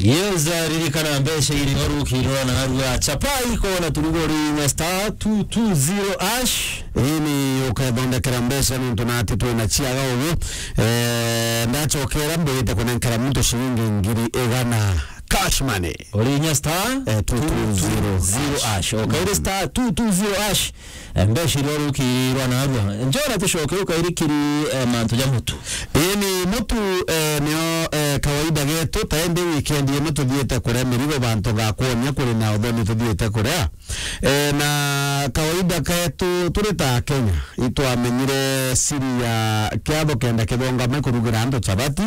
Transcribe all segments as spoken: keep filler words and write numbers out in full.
Yes, ririkana mbeca iri orukirwa na arua chapa iko na turugori na star two two zero hash. Ini ukethondekera mbeca nontu nati twina ciaga ugu. Eh, ndachokera mbigite kunenkera muntu ciringi ngiri igana cash money. Urinya star eh, two two zero hash. Okaire star two two zero hash. Eh, mbeca iria urukirwa na arua. Njora tucoke ukairikiri, eh, mantu ja mutu. Ii ni mutu, eh, nio, eh, kawaida getu, ta indi weekend ino tuthiite kuria mirigo bantu ga kwonia kuri na uthoni tuthiite kuria. Eh, na kawaida ketu turi ta Kenya, itwamenyire siri ya kiatho kenda kithongame kurugira antu chapati,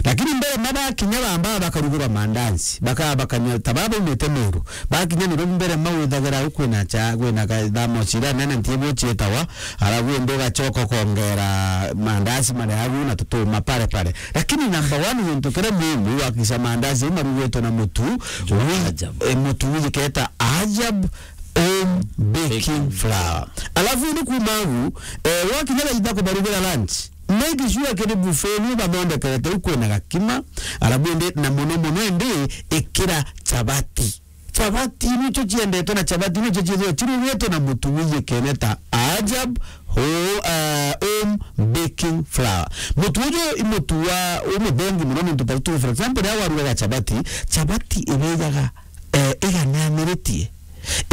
lakini mbere mabakinya bamba bakarugirwa mandazi, baka-, bakanyua ta baba umite Meru. Bakinya niro mbere mawithagira au kwina cha, kwina ka-, thamosi iria nene ntibu cietawa, arabu indi ugachoka ukongera mandazi maria agu na tutuma pare pare. Lakini number one, gintu kiria muhimu, wakisha mandazi au marugitwe na mutu, wi-, Ajab. Eh, mutu wijiketa Ajab Home Baking Flour. Alafu ni kuma agu, eh, wakinya thaa ithatu kubarugira lunch, make sure kiri buffet ni bathondekete u kwina gakima, arabu indi na muno muno indi ikira chapati. Chapati nicho ciendetwe na chapati nicho ciethirwa cirugitwe na mutu wiyikene ta Ajab ho-, eh, Home Baking Flour. Mutu uju i mutu wa umuthengi muno nontu ta tu, for example, riria warugaga chapati, chapati ibijaga, eh, iganianiritie.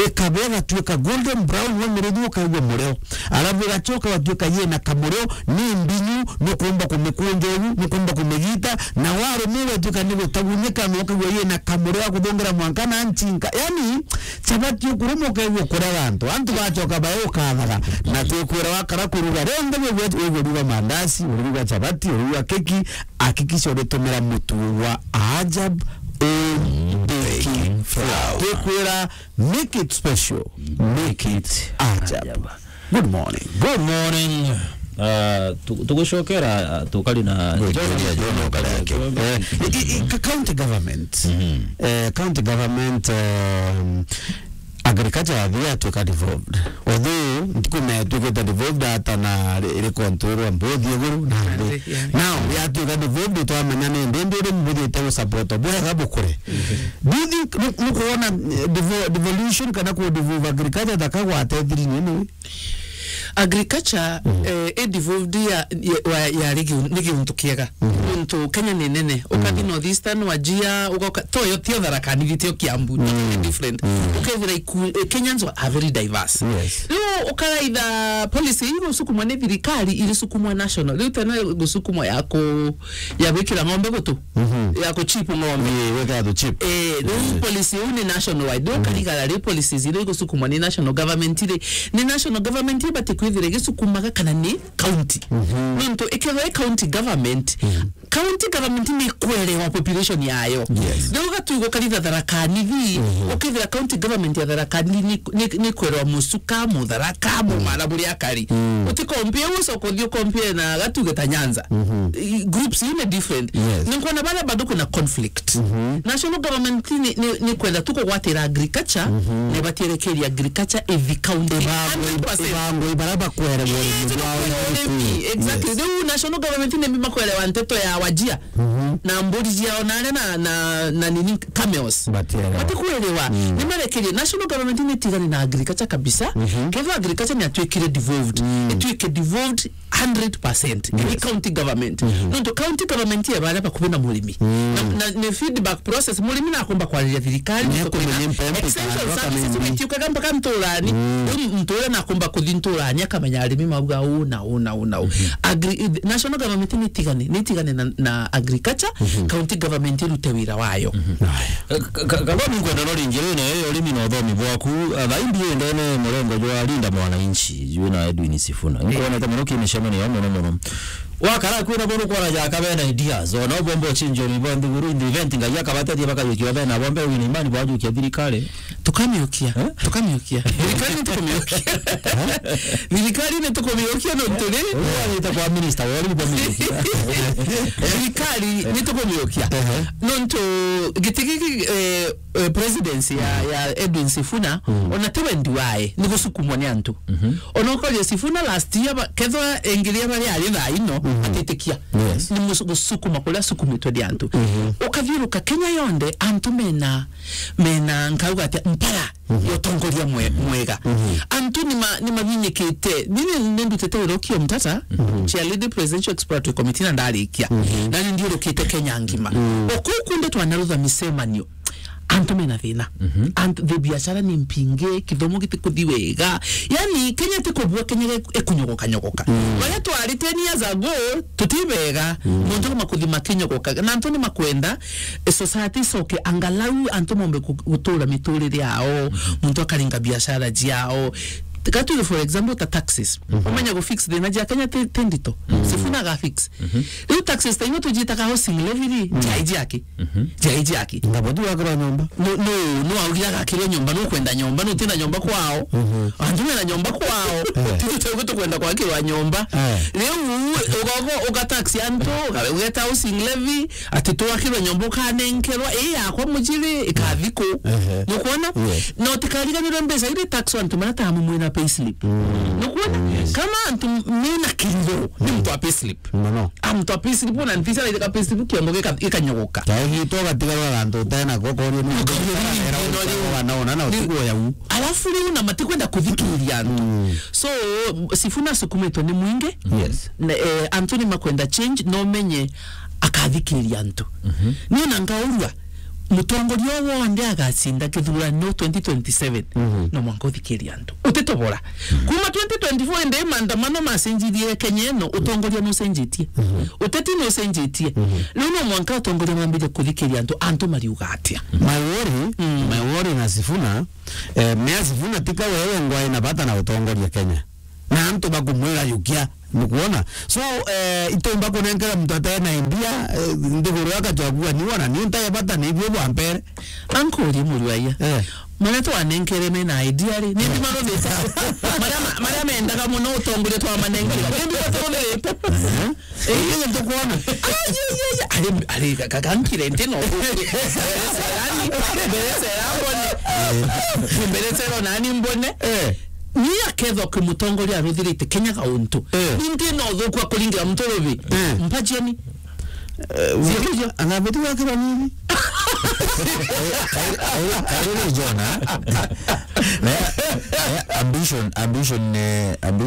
Ikaba igatuika golden brown, wamirithu ukaigua mureo. Alafu igachoka igatuika yina kamureo, ni mbinyu, nukumba kumikunja uu, nukumba kumigita, na warumwa igatuika ni gutagunyika, na ukaigua yina kamureo ga kuthungira mwanka na nchinka. Yani, chapati ukurumwa ukaigua kuria antu. Antu bachoka bae ukathaga. Na twikwira wakara kuruga, rionthe wigue, wiguruga mandazi, uriruga chapati, uriruga keki, hakikisha uritumira mutu wa Ajab Home Baking Flour. Twikwira, make it special, make it Ajab. Good morning. Good morning. Ah, tu-, tugucokera, ah, tukari na Good, John, good, John, John, Okare Ake. Eh, i-, i-, i-, ka-, county government. Mhm. Eh, county government, um, agriculture yathi yatuika devolved. Although, ntikumenya ituikite devolved ata na ri-, iri control mbuthi iguru na nthi. Nthi, yeah. Now, yatuika devolved, twamenya ni ndi, ndi uri mbuthite gusupport bwega bukure. Mhm. Do you think, nu-, nukwona, eh, devo-, devolution kana ku devolve agriculture thaka gwatethiri nini? Agriculture, mm, eh, i devolved ya, ya, wa, yari giu-, ni giuntu kiega. Mhm. Nontu Kenya ni nene. Ukathi, mm, North Eastern, Wajir, ugoka, toyo, tio Tharaka Nithi, tio Kiambu, totally, mm, different. Mm. Ukethira iku-, eh, Kenyans are very diverse. Yes. Riu ukaraitha policy ii gusukumwa ni thirikari, irisukumwa national. Riu tene gusukumwa ya ku-, ya gwikira ng'ombe gutu, mhm, ya kuchip ng'ombe. Ii, weka tu chip. Eh, riu, mm, policy iu ni national wide. Riu, mm, ukarigara ri policies iria igusukumwa ni national government ri, ni national government ibati kwithira igisukumaga kana ni county? Mhm. Nontu ikethwa i county government, mm, county government ni ikwerewa population yayo. Yes. Riu ugatwi gukaritha Tharaka Nithi, mhm, ukethira county government ya Tharaka Nithi ni, ni, ni ikwerewa Musuka, Mutharaka, mm, Mumara, Buria, Kari. Mm. Utikompie ucoka uthi ukompie na gatuge ta Nyanza. Mhm. I-, groups iu ni different. Yes. Ni nkwona baria bado kwina conflict. Mhm. National government ni, ni, ni kwenda tu kugwatira agriculture, mhm, ni batierekeria agriculture ithi county. Ibangwe, hundred percent. Ibangwe, ibara bakwere. Yes, urimi bwao na urimi. Urimi. Exactly. Yes. Riu national government ni makwelewa nteto ya Wajir. Mhm. Na mburi ciao na aria na, na, na nini, camels. Batielewa. Batikwelewa. Mm. Ni marekerie. National government ni itigane na agriculture kabisa. Mhm. Kethwa agriculture ni atwikire devolved. Mm. Itwike devolved hundred percent. Yes. Ni county government. Mhm. Nontu county government ye baria bakubi na murimi. Mm. Na, na ni feedback process, murimi nakumba kwariria thirikari, ni akumenya mpempe extension kana services akamenya. Itiukaga mpaka nturani. Mm. Riu muntu uria nakumba kuthi nturani akamenya arimi mauga uu na uu na uu na uu. Mhm. Agri-, national government ni itigane, ni itigane na, na agriculture, mhm, county government irute wira wayo. Mhm. Aya. Eh, ka-, ka-, Kagomi, nkwenda no ringi ri na yo urimi na uthomi bwaku, ah, thaa imbi ndene murengo jwa Linda Mwananchi, jwi na Edwin Sifuna. Eh. Nkwonete muno ki micemanio ya muno muno. Wakara kwina bono kwara ja kabena ideas, ona bombo chinjo ni bondi guru in the event, Ngai akabatethia bakajukia bena bombe wina imani bwajukia thirikari. Tukamiukia. Eh? Tukamiukia. Thirikari ni tukumiukia. Thirikari ni tukumiukia nontu ri? Uyu arite kwa minister, wori kwa minister. Thirikari ni tukumiukia. Ehe. Nontu giti giki, eh, eh, presidency ya, ya Edwin Sifuna, ona ti wendi wae, ni gusukumwa ni antu. Ona ukoria Sifuna last year, ba-, kethwa engiria baria ari thaa ino, atitikia. Yes. Ni mus-, gusukuma kuria asukumitwe ni antu. Ukathiuruka Kenya yonthe, antu mena mena, nkauga atia, mpara ya utongoria mwe-, mwega. Antu ni ma-, ni mabinyikite. Ni, ni, ni ndutite wira ukio Mtata, chair lady presidential exploratory committee na ndarikia. Na ni ndiurukite Kenya ngima. O kuu kunthe twanarutha micemanio. Antu mena thina. Antu, the biashara ni mpinge, kithomo gitikuthi wega. Yani, Kenya ti kubua, Kenya ge-, ikunyogoka nyogoka. Baria twari ten years ago, tutibega. Muntu ni makuthi makinyogoka. Na antu ni makwenda, eh, society icoke, angalau antu mombe ku-, gutura miturire yao, muntu akaringa biashara ciao. Tiga tuge, for example, ta taxes. Umenya gu fix thina cia Kenya ti, ti ndito. Sifuna aga fix. Riu taxes ta iu tujitaga housing levy ri, jai jaki. Jai jaki. Ngabo tu wakira nyomba. No, no, no, augire agakirwe nyomba, no kwenda nyomba, no tina nyomba kwao. Antu mena nyomba kwao. Tutu teu tukwenda kwakirwa nyomba. Riu ugogo uga tax antu, ugeta housing levy, ati twakirwe nyomba ukanenkerwa, ii yakwa mujiri, ikathi ku. Nukwona? Yes. Na utikariganirwe mbeca iria tax antu marataga mwina payslip. Nukwona? Yes. Kama antu mena kiriro, ni muntu wa payslip. Mono. A muntu wa payslip, na nthisa na itheka payslip kiongo gika-, gikanyogoka. Kaigitwo gatigarwa antu utena ko korio ni. Ukoria ni wana ona na utugo ya u. Alafu riu na matikwenda kuthikiria antu. So, Sifuna asukumitwe ni mwingi. Yes. Na, eh, antu ni makwenda change, no menye akathikiria antu. Ni na ngaurua, mutongoria o wonthe agacinda kithurano twenty twenty-seven, no mwanka uthikiria antu. Utitobora. Kuma twenty twenty-four indi maandamano macenjirie Kenya ino, utongoria nucenjitie. Uteti nucenjitie. Riu no mwanka utongoria mambirie kuthikiria antu, antu mariuga atia? My worry, my worry na Sifuna, eh, Mea Sifuna tika wewe ngwai na bata na utongoria Kenya. Na antu bakumwira yukia, nukwona? So, eh, itumba kunenkera muntu atena idea, eh, nthiguru akachagua ni wona, ni ntaye bata ni ibio bwa mbere. Ankurie murwaia. Eh. Maria twanenkere mena idea ri, ni ndi maruthite. Maria ma-, maria mendaga muno utongoria twamanenkera. Ni ndi maruthite. Eh, ni ndi tukwona. Ai, ai, ai, ai. Ari, ari, ka-, ka-, kankire nti no. Mbere sera mbone. Mbere sera nani mbone. Eh. Ni akethwa kwi mutongoria aruthirite Kenya gauntu. Eh. Ni ndi no thukwa kuringira muntu rubi. Eh. Mpajeni. Eh, anabetu wake banini? Kairi Jona. Na, na ambition, ambition, eh, ambition